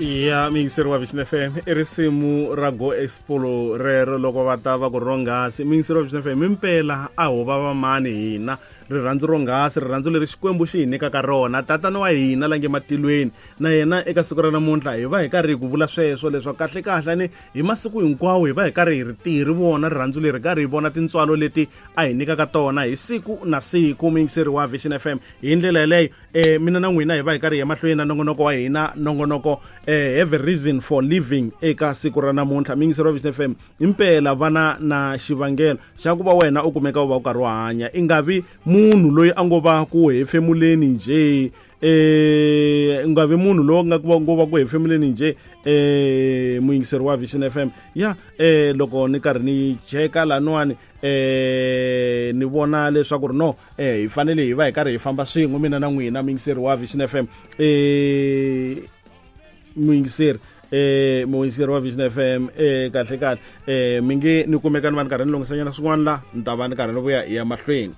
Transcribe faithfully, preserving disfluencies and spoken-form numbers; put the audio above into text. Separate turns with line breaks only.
Ya muyingiseri wa Vision F M, i risimu ra Go Expo rero loko va ta va ku ronghasi. Muyingiseri wa Vision F M, impela a ho va va mani hina rirhandzu ronghasi, rirhandzu leri Xikwembu xi hi nyikaka rona, tatana wa hina la nge matilweni. Na yena eka siku ra namuntlha hi va hi karhi hi ku vula sweswo leswaku kahle kahle ni hi masiku hinkwawo hi va hi karhi hi ri tirhi vona rirhandzu leri, karhi hi vona tintswalo leti a hi nyikaka tona hi siku na siku. Muyingiseri wa Vision F M, hi ndlela yeleyo eh mina na n'wina hi va hi karhi hi ya mahlweni na nongonoko wa hina, nongonoko eh have a reason for living eka siku ra namuntlha. Muyingiseri wa Vision F M, impela vana na xivangelo xa ku va wena u kumeka u va u karhi u hanya, i nga vi munhu loyi a ngo va ku hefemuleni nje, eh nga vi munhu loyi nga ku va ngo va ku hefemuleni nje. Eh muyingiseri wa Vision F M, ya eh loko ni karhi ni cheka laniwani eh ni vona leswaku ri no eh hi fanele hi va hi karhi hi famba swin'we mina na n'wina muyingiseri wa Vision F M. Eh muyingiseri eh muyingiseri wa Vision F M, eh kahle kahle eh mi nge ni kumeka ni va ni karhi ni lunghisanyana swin'wana la, ni ta va ni karhi ni vuya hi ya mahlweni.